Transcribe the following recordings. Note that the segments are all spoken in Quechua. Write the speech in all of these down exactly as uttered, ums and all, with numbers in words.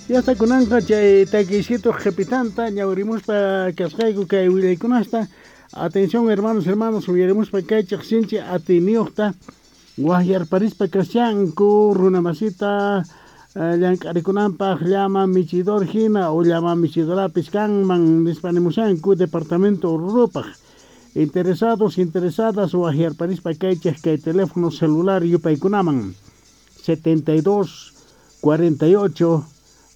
Yasta kunanqa chay takisito qhipitanta ñawrimuspa kasqayku kay willaykunasta. Atención, hermanos, hermanos, uyarimuspa kaychik sinchi atiniyuqta waqyarparispa kashanku runamasita llank'arikunanpaq llama michidor hina o llama michidorapis kanman nispa nimushanku departamento Orurupaq. Interesados, interesadas, waqyarparispa kaychik kay teléfono celular yupaykunaman setenta y dos cuarenta y ocho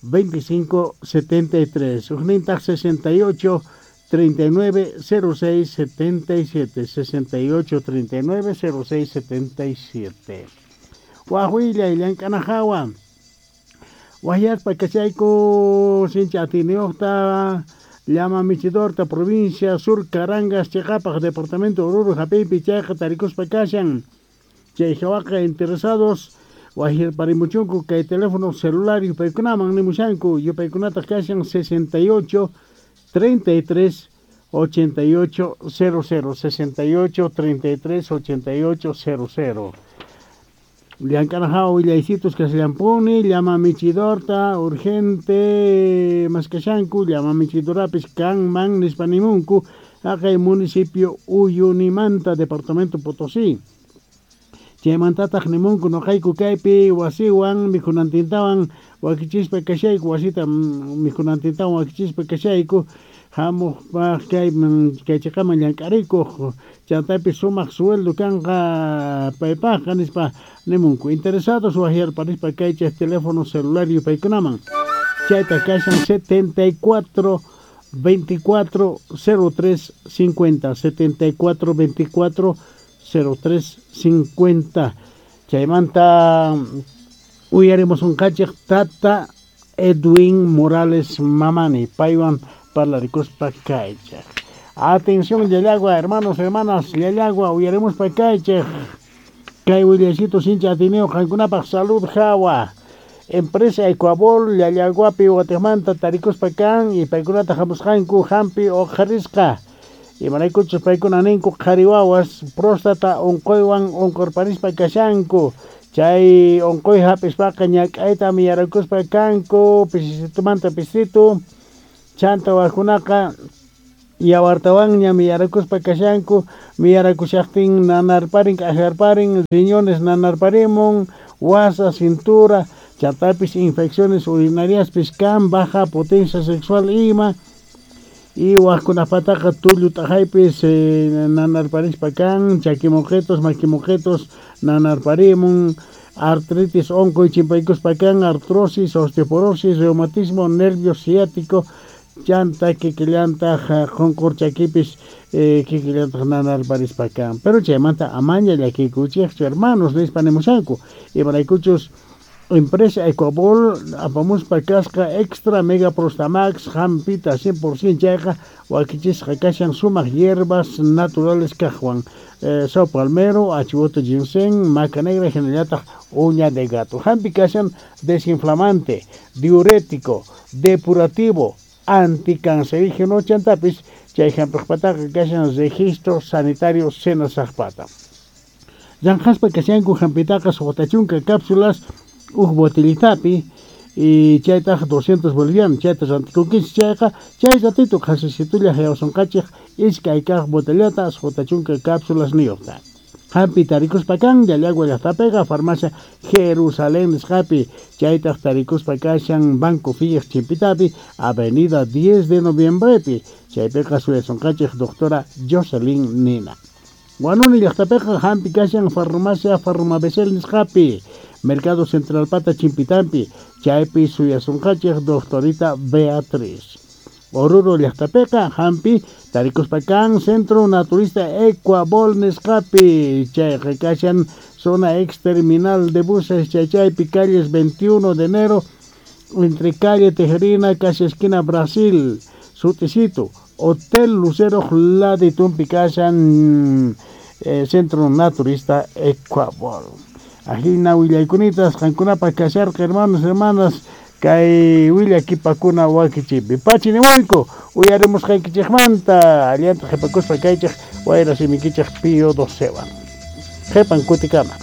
veinticinco setenta y tres, ujnintaq sesenta y ocho treinta y nueve cero seis setenta y siete, sesenta y ocho treinta y nueve cero seis setenta y siete. Waj willay llank'ana hawa waqyaspa kachayku sinchi atiniyuqta llama michidorta provincia Sur Carangas chiqapaq departamento Oruro hap'iypi chayqa tarikuspa kashan. Chay hawaqa interesados waqyarparimuchunku kay teléfono celular yupaykunaman nimushanku, yupaykunataq kashan sesenta y ocho treinta y tres ochenta y ocho cero cero, sesenta y ocho treinta y tres ochenta y ocho cero cero. Llank'ana hawa willaysitos kashallampuni, llama michidorta urgente maskashanku, llama michidorapis kanman nispa nimunku haqay municipio Uyunimanta, departamento Potosí. Chaymantataq nimunku nuqayku kaypi wasiwan mikhunantintawan wakichispa kashayku, wasita mikhunantintawan wakichispa kashayku, hamuqpaq kay kay chiqaman llank'arikuq, chantapis sumaq sueldo kanqa paypaqqa nispa nimunku. Interesados waqyarparispa kaychik teléfono celular yupaykunaman, chayta kashan setenta y cuatro veinticuatro cero tres cincuenta, setenta y cuatro veinticuatro cero tres cincuenta. Chaymanta uyarimusunqachik tata Edwin Morales Mamani, paywan parlarikuspa kaychik. Atención, Llallagua, hermanos, hermanas, Llallagua, uyarimuspa kaychik kay willaysitu sinchi atiniyuq qankunapaq salud hawa. Empresa Ecuabol Llallaguapi watiqmanta tarikuspa kan y paykunata hamusqanku hampi uqharisqa, imaraykuchus paykuna ninku qhari wawas próstata unquywan unqurparispa kashanku, chay unquy hap'ispaqa ñak'ayta miyarakuspa kanku pisisitumanta pisitu, chanta wajkunaqa yawartawanña miyarakuspa kashanku, miyarakushaqtin nanarparin, k'ajarparin, riñones nanarparimun, wasa, cintura, chantapis infecciones urinariaspis kan, baja potencia sexual ima, y wajkunapataqa tullu t'aqaypis eh, nanarparispa kan, chakimoqetos, makimoqetos nanarparimun, artritis unquy chimpaykuspa kan, artrosis, osteoporosis, reumatismo, nervio ciático, chanta kikillantaq qunqur chakipis eh, kikillantaq nanarparispa kan. Pero chaymanta amaña llakiykuchikchu, hermanos, nispa nimushanku, imaraykuchus empresa Ecuabol apamuspa kasqa extra mega prostamax hampita cien por ciento, chayqa wakichisqa kashan sumaq hierbas naturales kaqwan, eh, sao palmero, achivote, ginseng, maca negra, hinallataq uña de gato. Hampi kashan desinflamante, diurético, depurativo, anticancerígeno, chantapis chay hampiqpataqa kashan registro sanitario SENASACpata. Llanqaspa kashanku hampitaqa suqta chunka cápsulas uj botellitapi y chaytaq doscientos bolivianos, chayta rantikunkichik chayqa chay ratito qhasisitulla hayawasunqachik iskay kaq botellata suqta chunka cápsulas niyuqta. Hampi tarikuspa kan Llallagua llaqtapiqa farmacia Jerusalén nisqapi, chaytaq tarikuspa kashan Banco Fillas chimpitapi, avenida diez de noviembrepi, chaypiqa suyasunqachik doctora Jocelyn Nina. Huanuni llaqtapiqa hampi kashan farmacia Farmabesel nisqapi, Mercado Central pata chimpitampi, chaypi suyasunqachik doctorita Beatriz. Oruro llaqtapiqa hampi tarikuspa kan Centro Naturista Ecuabol nisqapi, chayqa kashan zona ex terminal de buses chaychaypi, calles veintiuno de enero entre calle Tejerina casi esquina Brasil, sutisito Hotel Lucero laditumpi kashan eh, Centro Naturista Ecuabol. Ajina willaykunitas qankunapaq kasharqa, hermanos, hermanas, kay willakipakuna wakichipi. Pachi nimuyku uyarimusqaykichikmanta, allanta qhipakuspa kaychik wayra simikichik Pío docewan. Qhipan kutikama.